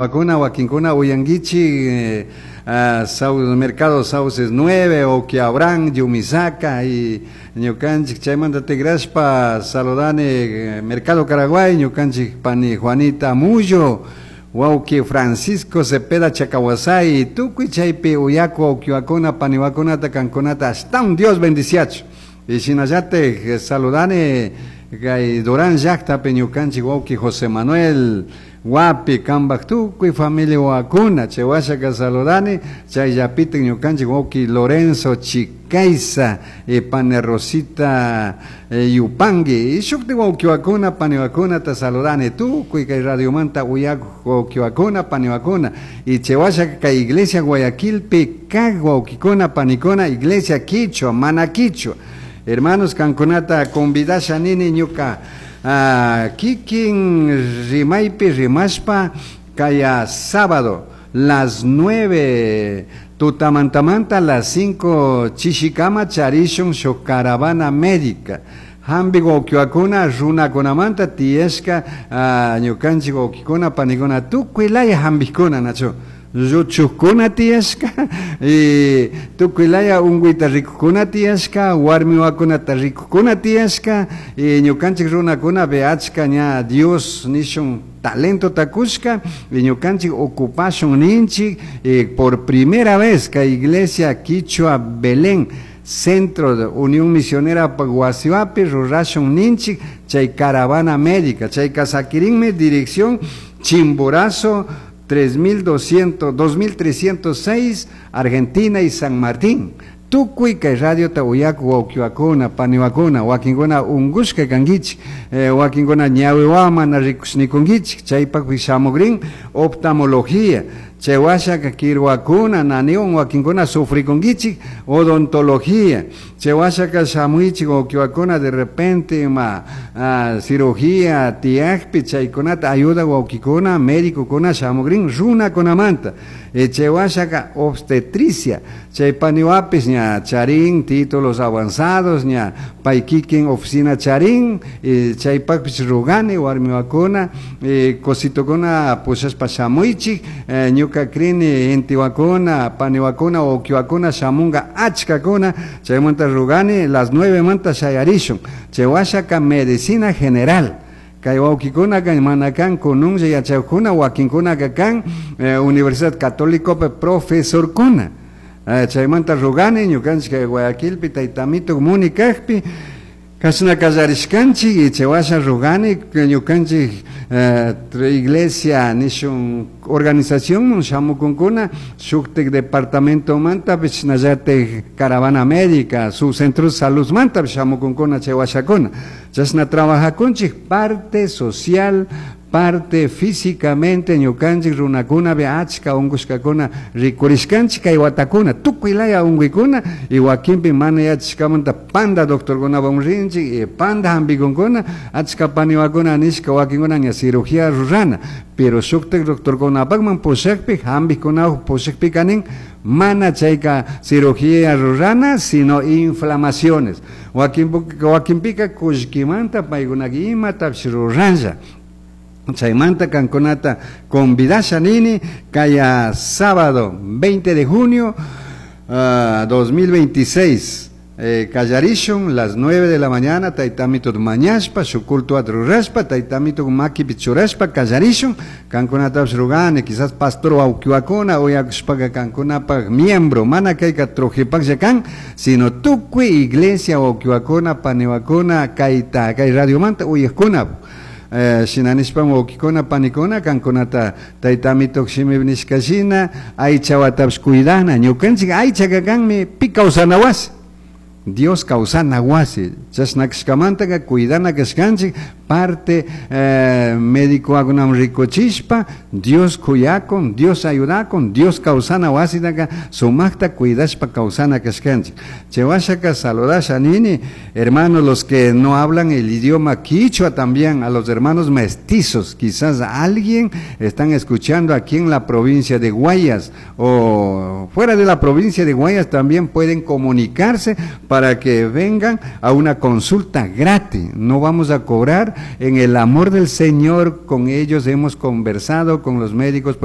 Vacuna wakinkuna uyankichik Mercado Sauces 9 o Abraham Yumisaka y ñukanchik chaymanta tigrashpa saludani Mercado Caraguay ñukanchik pani Juanita Mullo wawki Francisco Cepeda Chacahuasay tukuy chaypi uyaku wawkiwakuna paniwakunata kankunata ashtawan Dios bendiciachu y shinallatik saludani kay Durán llaqtapi ñukanchik wawki José Manuel Wapi kambak tukuy familia wakuna chay washaka saludani chayllapitik ñukanchik wawki Lorenzo Chicaiza y pani Rosita Yupangui y shuktik wawkiwakuna paniwakunata saludani tukuy kay radiomanta uyakuq wawkiwakuna paniwakuna y chay washaka kay iglesia Guayaquilpi kaq wawkikuna panikuna iglesia quichua mana quichua hermanos kankunata convidasha nini ñuka kikin rimaypi rimashpa kaya sábado las 9 tutamantamanta las 5 chishikama charishun shuk caravana médica hampi wawkiwakuna runakunamanta tiyashka ñukanchik wawkikuna panikuna tukuy laya hampikuna nachu lluchukuna tiyashka y tukuy laya unkuyta rikukuna tiyashka warmiwakunata rikukuna tiyashka y ñukanchik runakuna achka ña Dios nishun talento takushka y ñukanchik ocupashun ninchik y por primera vez kay iglesia Quichua Belén Centro de Unión Misionera Guasiwapi rurashun ninchik chay caravana médica chay kasakirinmi dirección Chimborazo 3200, 2306, Argentina y San Martín. Tukuy kay radiota uyaku wawkiwakuna, paniwakuna, wakinkuna unkushka kankichik, wakinkuna ñawiwawan mana rikushnikunkichik, chaypakpi shamukrin oftalmología, chay washaka kirwakuna, naniwan wakinkuna sufrikunkichik, odontología, chay washaka shamuychik wawkiwakuna de repente ima cirugía tiyakpi chaykunata ayuda wawkikuna, médicokuna shamukrin runakunamanta. Chay washaka obstetricia, chay paniwapis ña charin títulos avanzados ña pay kikin oficina charin, chaypakpis rugani warmiwakuna, cositokuna pushashpa shamuychik, ñuka krini intiwakuna, paniwakuna, wawkiwakuna shamunga achkakuna, chaymanta rugani las 9 manta shayarishun, chay washaka medicina general. Kay wawkikunaka mana kan kununlla yachakuna wakinkunaka kan Universidad Católicopi profesorkuna. Chaymanta rugani ñukanchik kay Guayaquilpi taytamito muni kaqpi kashna kallarishkanchik y chay washa rugani ñukanchik iglesia nishun organización shamukunkuna shuktik departamentomantapish shinallatik caravana médica su centro de salud mantapish shamukunkuna chay washakuna chashna trabajakunchik parte social parte físicamente ñukanchik runakunapi achka unkushkakuna rikurishkanchik kay watakuna tukuy laya unkuykuna y wakinpi mana yachashkamanta panda doctorkunawan rinchik y panda hampikunkuna achka paniwakuna nishka wakinkuna ña cirugía rurana pero shuktik doctorkunapakman pushakpi hampikunawan pushakpika nin mana chayka cirugía rurana sino inflamaciones wakinpika kullkimanta paykunaka imatapish ruranlla. Chaymanta kankunata convidasha nini kaya sábado 20 de junio 2026 kallarishun las 9 de la mañana taytamito mañashpa shuk culto rurashpa taytamito makipi churashpa kallarishun kankunatapish rugani quizás pastor wawkiwakuna uyakushpaka kankunapak miembro mana kayka trujipaklla kan sino tukuy iglesia wawkiwakuna paniwakuna kayta kay radiomanta uyakuna. Shinanishpa wawkikuna panikuna kankunata taytamito shimi nishka shina aychawatapish cuidana ñukanchik aychaka kanmi pi kawsana wasi Dios kawsana wasi chashna kashkamantaka cuidana kashkanchik parte médico rikuchishpa Dios kuyakun Dios ayudakun Dios kawsana wasitaka sumakta cuidashpa kawsana kashkanchik chay washaka saludasha nini hermanos los que no hablan el idioma quichua también a los hermanos mestizos quizás alguien están escuchando aquí en la provincia de Guayas o fuera de la provincia de Guayas también pueden comunicarse para que vengan a una consulta gratis no vamos a cobrar En el amor del Señor, con ellos hemos conversado, con los médicos.